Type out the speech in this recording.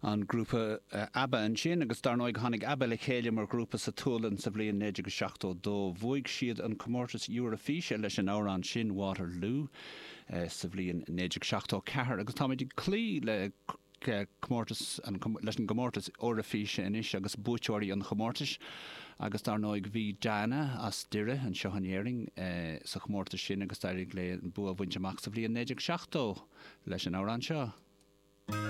An grúpa ABBA ansin, agus dar ndóigh tháinig ABBA le chéile mar ghrúpa sa tSualainn sa bhliain 1972. Bhuaigh siad an comórtas Eoraifíse leis an amhrán sin, Waterloo, sa bhliain 1974. Agus táimid ag cloí le comórtas, leis an gcomórtas Eoraifíse anois agus buaiteoirí an chomórtais. Agus dar ndóigh bhí Diana as Doire anseo in Éirinn sa chomórtas sin agus d'éirigh léi an bua a bhaint amach sa bhliain 1970 leis an amhrán seo.